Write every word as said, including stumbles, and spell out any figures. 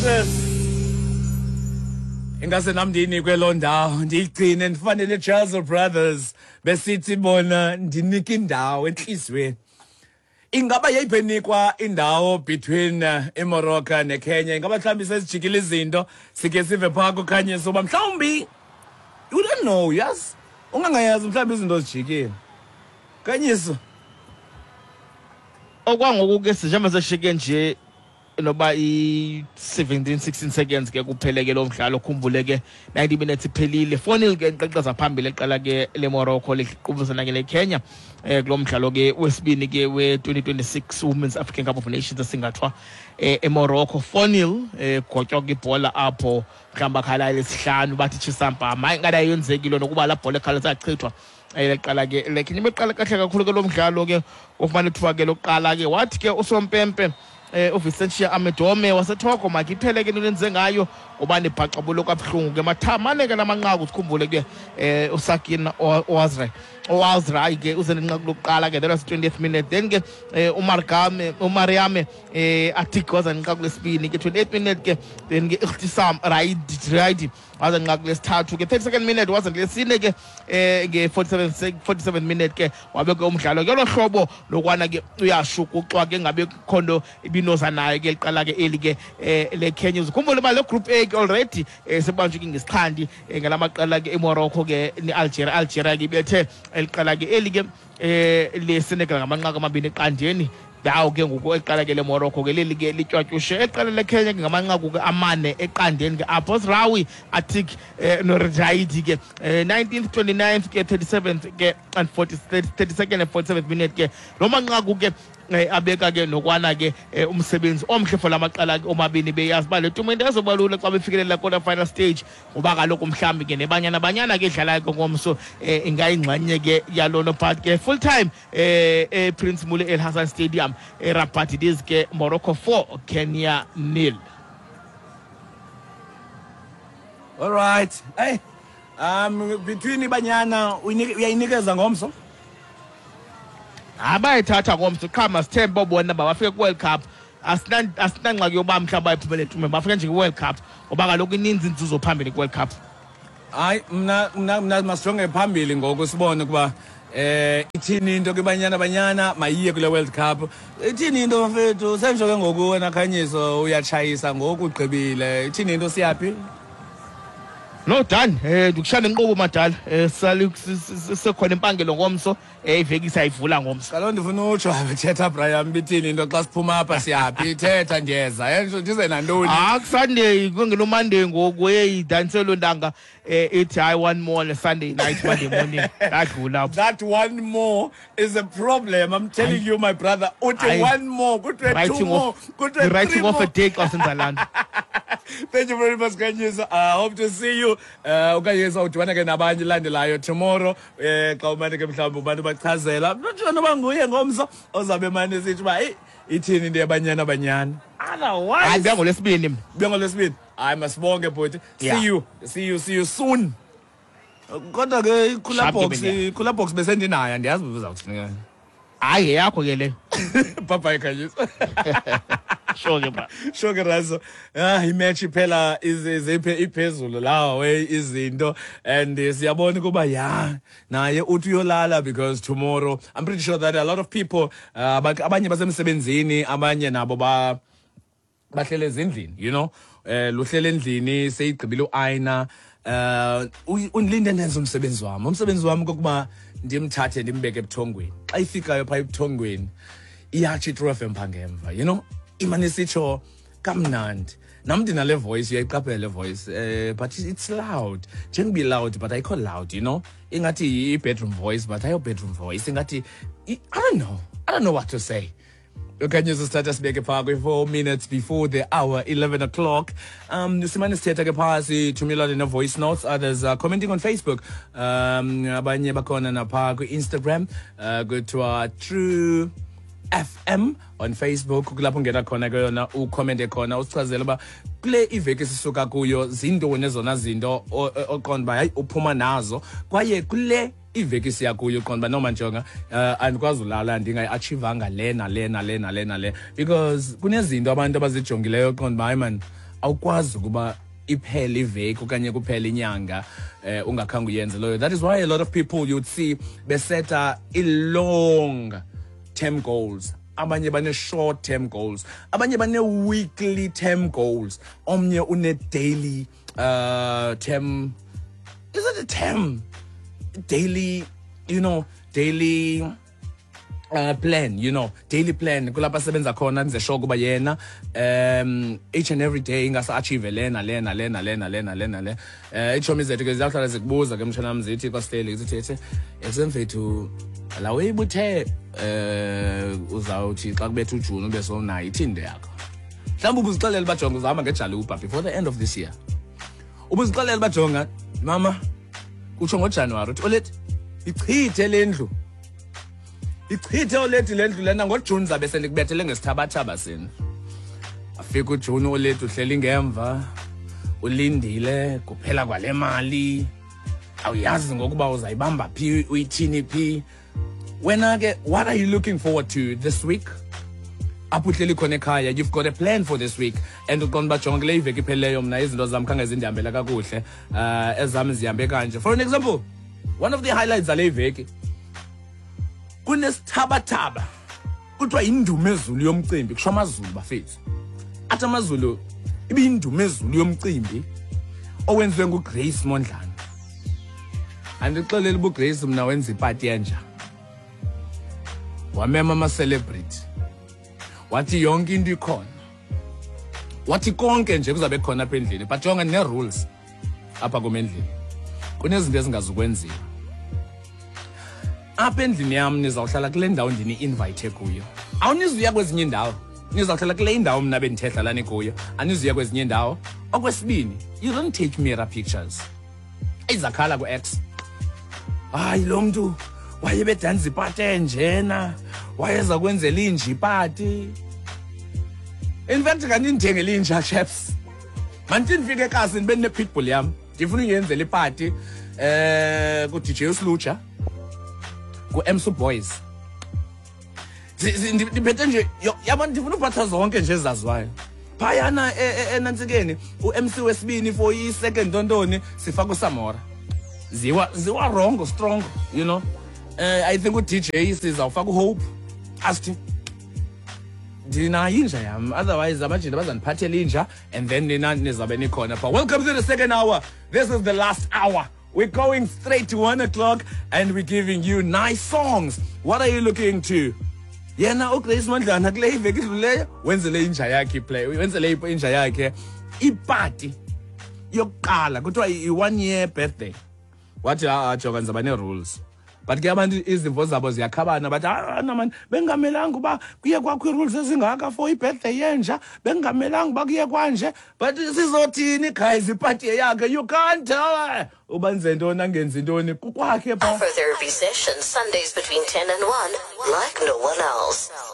Brothers. Ingase nam ndiyinikwe loo ndawo, ndiyigcine ndifane neJazzle Brothers, besithi bona ndinika indawo entliziyweni. Ingaba yayiphenikwa indawo between uh, iMorocco neKenya? Ingaba mhlawumbi sezijikile izinto? Sike sive phaa kuKhanyiso uba mhlawumbi, you don't know, yes, ungangayazi, mhlawumbi izinto zijikile. Khanyiso. Okwangoku ke, njengoba seshike nje noba i-seventeen sixteen seconds ke kuphele ke lo mdlalo, khumbule ke ninety minutes iphelile, four nil ke iqeqeza phambili eqala ke le Morocco liqubisana ke le Kenya eh kulo mdlalo ke wesibini ke we-twenty twenty-six Women's African Cup of Nations esingathwa eh eMorocco. four nil, eh gotywa ke ibhola apho, mhlawumbi akhala lesihlanu bathi chisampama. Hayi, ngathi ayenzekile nokuba la bhola ekhala sachithwa. Leqala ke leKenya beqala kahle kakhulu ke lo mdlalo ke, ufumana ithuba ke lokuqala ke, wathi ke usompempe eh uVicentia Amedome waseTogo makiphele ke into enze ngayo ngoba nibhaxabulo kabuhlungu ke mathamane ke lamanqaku. Sikhumbule ke eh uSakina Oazre Oazra ke uze nenqaku lokuqala ke, that was twentieth minute. Then ke eh, uMargame uMariame eh Atik waza nenqaku lesibini ke, twenty-eighth minute ke. Then ke Ikhtisam Raidi Raidi waza nenqaku lesithathu ke, thirty-second minute, waza lesine ke eh nge forty-seven forty-seven minute ke, wabe ke umdlalo ke lo hlobo lokwana ke uyashukuxwa ke, ngabe khondo ibinoza nayo ke liqala ke eli ke eh, le Kenya. Uzikhumbule ba le group A ke already eh, sebanjwe ke ngesixhandi eh, ngalamaqela ke eMorocco ke neAlgeria. Algeria ke ibethe eliqala ke eli ke eh le Senegal ngamanqaku amabini eqandeni. Dawo ke ngoku eqala ke le Morocco ke leli ke litywatyushe eqala le Kenya ke ngamanqaku ke amane eqandeni ke apho, Rawi Atik eh, noRaidi ke, eh, nineteenth, twenty-ninth ke, thirty-seventh ke and forty thirty-second and forty-seventh minute ke. Lo manqaku ke eh, abeka ke nokwana ke eh, umsebenzi omhle for lamaqala ke omabini, beyazi uba le tumente azoba lula xa befikelela quarter final stage, ngoba kaloku mhlawumbi ke neBanyana Banyana ke idlalayo ke ngomso eh, ingayingxenye ke yalona. But ke full time eh, eh Prince Moulay El Hassan Stadium eRabat, it is ke Morocco four, Kenya nil. All right, hey, um between iBanyana uyayinikeza ngomso? Abayithatha ngomso qha, masithembe bobona bafike ku-World Cup. Asinangxaki yoba mhlawumbi bayiphumele tume, bafike nje kwi-World Cup, ngoba kaloku ininzi inzuzo phambili kwi-World Cup. Hayi, mna mna mna masijonge phambili ngoku, sibone ukuba eh ithini into kwiBanyana Banyana, mayiye kule World Cup. Ithini into, mfethu? Senjo ke ngoku wena Khanyiso, uyatshayisa ngoku, ugqibile. Ithini into, siyaphi? No, done. eh ndikushaya nenqobo madala, eh sali sekhona impangelo ngomso, eh iveki sayivula ngomso. Kaloku ndifuna utsho, thetha Brian, bithini into xa siphuma apha, siyaphi? Thetha, ndiyeza, yenzo ndize nantoni? Ah, Sunday kungelo Monday ngoku, hey, danselo ntanga eh ithi hayi, one more Sunday night, Monday morning adlula. That one more is a problem, I'm telling you, my brother. Uthi one more, kuthiwe two more, kuthiwe writing off a day xa senza laa nto. Thank you very much, Kanyisa. I uh, hope to see you. Uh uKanyisa udibana ke nabanye landelayo tomorrow. Eh xa umane ke mhlawumbi abantu bachazela. Not noba nguye ngomso ozabe mane sithi ba hey, ithini into yaBanyana Banyana. Otherwise, hayi, ngolwesibini mna. Buya ngolwesibini. Hayi, masibonge bhuti. See you. See you, see you soon. Kodwa ke i-cooler box, i-cooler box besendinayo, andiyazi uzawuthini. Hayi, yakho ke le. Bye bye, Kanyisa. Sure ke, bra. Sure ke, Razo. Ah, imatch phela iziphe iphezulu lawo izinto, and siyabona kuba ya naye uthi uyolala, because tomorrow I'm pretty sure that a lot of people, uh, abanye basemsebenzini, abanye nabo ba bahlele ezindlini, you know eh luhlele endlini, seyigqibile uayina. eh undilinde ndenze umsebenzi wami. Umsebenzi wami kokuba ndimthathe ndimbeke ebuthongweni. Xa ifikayo phaa ebuthongweni, iyatsho iTru F M phaa ngemva, you know imane sitsho kamnandi. Nam ndinale voice, uyayiqaphela le voice, eh but it's loud, njengoba loud but ayikho loud, you know ingathi i-bedroom voice but ayo bedroom voice, ingathi I don't know, I don't know what to say. Okanye sisithatha sibeke phaa kwi-four minutes before the hour, eleven o'clock. um simane sithetha ke phaa, sithumelane ne-voice notes, others are commenting on Facebook, um abanye bakhona naphaa kwi-Instagram, uh, kuthiwa True F M on Facebook, kulapho ungena khona ke yona, ucommente khona, usichazele uba kule iveki sisuka kuyo zintoni ezona zinto oqonda uba hayi, uphuma nazo, kwaye kule iveki siya kuyo uqonda uba noma njonga, uh, andikwazi ulala ndingayi-achievanga le nale nale nale nale, because kunezinto abantu abazijongileyo oqonda uba hayi man. Awukwazi ukuba iphele iveki okanye kuphele inyanga eh ungakhange uyenze loyo. That is why a lot of people you'd see beseta i-long term goals, abanye bane-short term goals, abanye bane-weekly term goals, omnye une-daily uh term. Is it a term? Daily, you know, daily uh, plan, you know, daily plan. Kulapha asebenza khona enze sure kuba yena um each and every day ingase achieve lena lena lena lena lena lena le. Eh ichomi zethu ke ziyawuhlala zikubuza ke mshana wam, zithi kwasihleli zithi esemfethu la uyibuthe eh uzawuthi xa kubetha uJune ube sowunayo ithini into yakho. Mhlawumbi ubuzixelela uba jonga uzahamba ngejaluba before the end of this year. Ubuzixelela uba jonga mama kutsho ngoJanuwari uthi olethi ichithe le ndlu. Ichithe olethi le ndlu lena ngoJune zabe sendikubethele ngesithabathaba sini. Afika uJune olethi uhleli ngemva ulindile kuphela kwale mali. Awuyazi ngokuba uzayibamba phi uyithini phi. Wena ke, what are you looking forward to this week? Apho uhleli khona ekhaya, you've got a plan for this week and uqonda uba jonga kule iveki iphelileyo mna izinto zam khange zindihambela kakuhle, uh ezam zihambe kanje. For an example, one of the highlights zale iveki kunesithabathaba kuthiwa yindumezulu yomcimbi, kusho amaZulu bafethu. Athi amaZulu ibiyindumezulu yomcimbi owenziwe nguGrace Mondlane. Andixeleli uba uGrace mna wenza ipati enja. Wamema ama-celebrity, wathi yonke into ikhona, wathi konke nje kuzabe khona apha endlini, but jonga nee-rules apha kum endlini, kunezinto ezingazukwenziwa apha endlini yam. Nizawuhlala kule ndawo ndini-invite kuyo, awunizuya kwezinye iindawo, nizawuhlala kule indawo mna bendithe hlalani kuyo, anizuya kwezinye iindawo. Okwesibini, you don't take mirror pictures. Izakhala ku-ex, hayi lo mntu wayebedanza ipati enjena, wayeza kwenzela inja ipati. In fact kanti ndithengele inja, chaps, mandithi ndifike ekasi ndibe ndine-pitbull yam, ndifuna uyenzela ipati eh ku-D J uSluja, ku-M C Boys. Ndiphethe nje yabo, ndifuna uphatha zonke nje ezaziwayo phayana enantsikeni. U-M C wesibini for i-second ntontoni sifaka uSamora, ziwa ziwa wrong strong, you know. uh, I think u-D J sizawufaka uHope. Asithi ndinayo inja yam, otherwise abajita bazandiphathela inja and then nina nizabe nikhona pha. Welcome to the second hour. This is the last hour. We're going straight to one o'clock and we're giving you nice songs. What are you looking to? Yena uGrace Mondlana kule iveki idluleyo wenzele inja yakhe iplay, wenzele inja yakhe ipati yokuqala, kuthiwa i-one year birthday. Wathi ha jonga ndizaba nee-rules, but ke abantu izimvo zabo ziyakhabana, bathi ah man bengamelanga uba kuye kwakho ii-rules ezingaka for i-birthday yenja, bengamelanga uba kuye kwanje. But sizothini guys, ipati yakhe, you can't tell uba nze ntoni angenzi ntoni kukwakhe pha. Afrotherapy sessions Sundays between ten and one, like no one else.